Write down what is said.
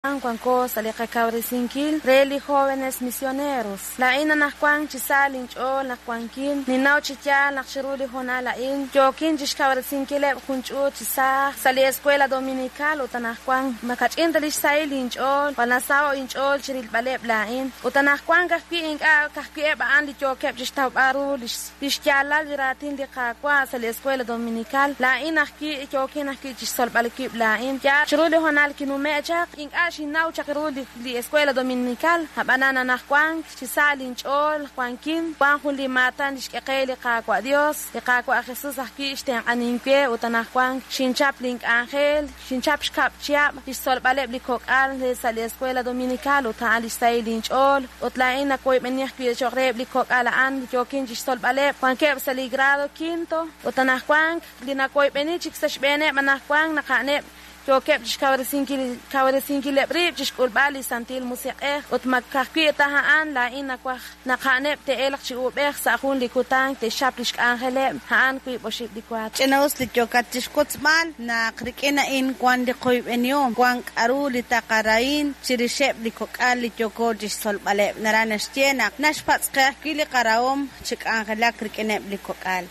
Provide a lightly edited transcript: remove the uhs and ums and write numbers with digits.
Wanko sa' li qakawresinkil re li Jóvenes Misioneros. Laa'in anajwan chi sa linch'ool naq wankin, ninnaw chi yaal naq chiru li hoonal a'in yookin chixkawresinkileb' jun ch'uut chi saaj sa' li Escuela Dominical ut anajwan ma kach'in ta lix sahil inch'ool, jwal nasaho' inch'ool chirilb'aleb' laa'in. Ut anajwan ka'ajwi' ink'a' ka'ajwi' eb' a'an li yookeb' chixtawb'al ru lix lix yaalal li raatin li Qaawa' sa' li Escuela Dominical, laa'in ajwi' yookin ajwi' chixtzolb'al wib' laa'in. Yaal, chiru li hoonal kinume' chaq, ink'a' xinnaw chaq ru li li Escuela Dominical, ab'anan anajwan chi sa linch'ool wankin, wan jun li maatan li xk'e qe li Qaawa' Dios, li Qaawa' Jesus ajwi' xtenq'anink we ut anajwan xinchap link'anjel, xinchap xkab' chihab' chixtzolb'aleb' li kok'al re sa' li Escuela Dominical ut a'an lix sahil inch'ool. Ut laa'in nawoyb'eni ajwi' cho'q reheb' li kok'al a'an li yookin chixtzolb'aleb', wankeb' sa' li grado quinto ut anajwan li nawoyb'eni chik sa' xb'eeneb' anajwan naq a'aneb' yookeb' chixkawresinkil kawresinkileb' rib' chixk'ulb'al li Santil Musiq'ej ut ma ka'ajwi' ta a'an laa'in nawaj naq a'aneb' te'elq chi uub'ej sa' jun li kutan te'xchap lix k'anjeleb' a'an wiib' oxib' li waatin. Ch'ina-us li yookat chixwotzb'al naq rik'in a'in wan li qoyb'enihom, wan k'a'ru li taqarahin chirixeb' li kok'al li yooko chixtzolb'aleb'. Naraj naxye naq naxpatz' qe ajwi' li qarahom chi k'anjelak rik'ineb' li kok'al.